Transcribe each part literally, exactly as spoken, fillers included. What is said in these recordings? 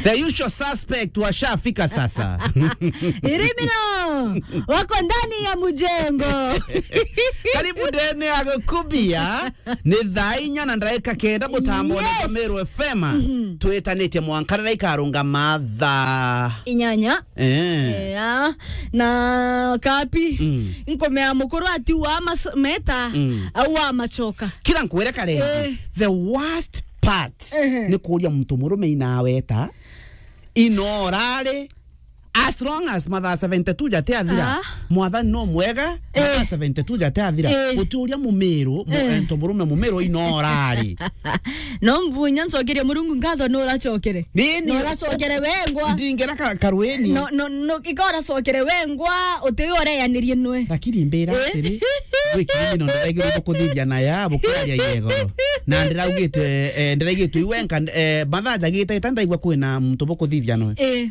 The usual suspect washafika sasa. Irimino wako ndani ya mjengo. Karibu ndene ya Gukubia. Ni thaa inya na ndagika kenda mutambo ni Yes. Meru F M. Mhm. Twitanitie mwanka na ikarungama thaa inyanya. Eh. Yeah. Na kapi. Mm. Nkomea mukuru ati wa mas-, meta, Mm. au wa machoka. Kira nkwere kare. Eh. The worst part Ehe. ni kuria muntu murume inaweta inorari. As long as mathaa seventy-two jate athira, Ah. Mwathani no mwega, Eh. mathaa seventy-two jate athira. Eh. Guti uria mumiru, mu-, Eh. ento murume mumiru inorari. No mbunya ncokerie Murungu nkatho no uracokere. Nini? No uracokere wengwa. Ndingera ka-, karweni. No, no, no, ika uracokere wengwa, uti uyu ureyanirie nwe. Lakini mbira Eh? atiri, gwi kirimi no ndiraigirwo bukuthithia na ya, bukiaria yegoro. Na ndiraugite, eh, ndiraigitwe iwenka, eh, mathaa jagite ita ndaigua kwina muntu bukuthithia nwe. Eh.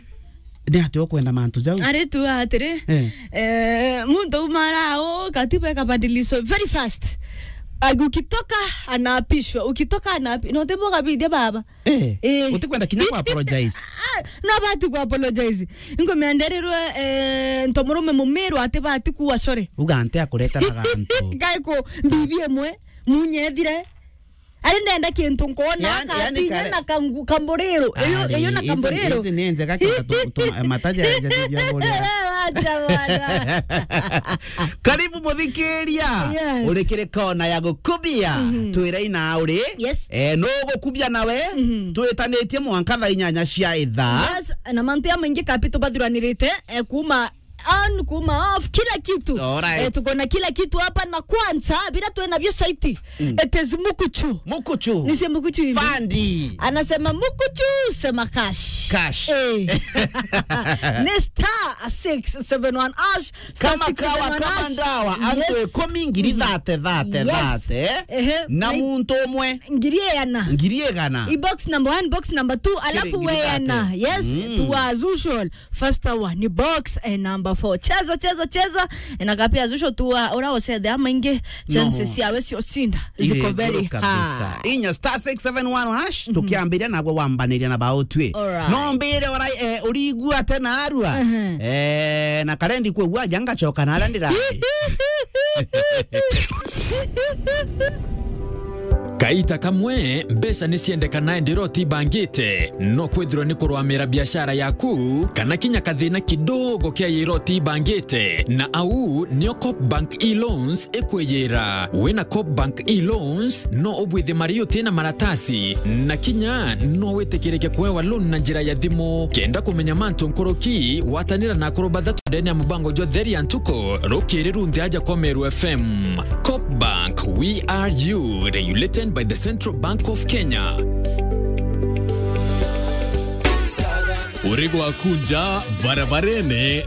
Ni ati ukwenda mantu jau? Ari tu atiri, Eh. eh, muntu umara o katiba ikabadilishwa very fast. Ukitoka anaapishwa, ukitoka anaapi-, no tebo kabithia baba. Eh, Eh. utikwenda kinya ku apologize? Ah, no bati ku apologize. Ingo mianderirwe, eh, nto murume mumiru ati bati kuwa sorry. Uga nte akuretera gantu. Gai ku mbibi emwe, munye ethire. Ari ndenda kintu nkona Yaani, yaani katinya kare- na kangu-, kamburiro. Iyo, Ari, iyo na izi, kamburiro. Izi ni njega kenda tu, tu, mataja ya jadi bia buria. Wewe acha bwana. Karibu muthikiria. Yes. Urikire kona ya Gukubia. Mhm. Twire ina uri. Yes. Eh, no gukubia nawe. Mhm. Twitanitie mwanka thaa inyanya cia ithaa. Yes, na mantu ya maingi kapi tubathuranirite, eh, kuma on, kuma off, kila kitu. Alright. Eh, tuko na kila kitu hapa na kwanza, bila tuwe navyo saiti. Mm. It is Mukuchu. Mukuchu. Nisie Mukuchu hivi. Fandi. Anasema, "Mukuchu, sema cash." Cash. Eh. Ni star six seven one hash, star Kama six seven one kawa, kama hash. Ndawa, antu Yes. ikumi ngiri thate, thate, Yes. thate, eh? Ehe. Na Na muntu umwe. Ngiri igana. Ngiri igana. I box number one, box number two, Kiri alafu ngiri weana. thate. Yes, Mm. to as usual. First hour ni box, eh, number four. Cheza, cheza, cheza. Eh, na kapia zusho tu wa, ura ucethe ama ingi, chances No. yawe cio cinda Iri ziko very iguru kabisa. High. Inya star six seven one hash, Mhm. tukiambiria nagwe wambaniria na bautwi. Alright. No mbire ora, eh, urigua tena arua. Mhm. Eh, na karendi kwigua aja ngacoka na aria ndirathi. Kaita kamwe, mbeca ni ciendekana indi iroti ibangite. No kwithirwa ni kurwamira biashara yaku, kana kinya kathina kidogo kia iroti ibangite. Na au nio Coop Bank e-Loans ikwiyira. Wina Coop Bank e-Loans, no ubwithie mari utina maratasi, na kinya no witikirike kuewa loan na njira ya thimu. Kenda kumenya mantu nkuruki, watanira na akuru bathatu ndene ya mubango jwa Theri ya Ntuku, rukiri runthe aja kwa Meru F M. Coop Bank, we are you, regulated by the Central Bank of Kenya. Uri gwaku nja barabarene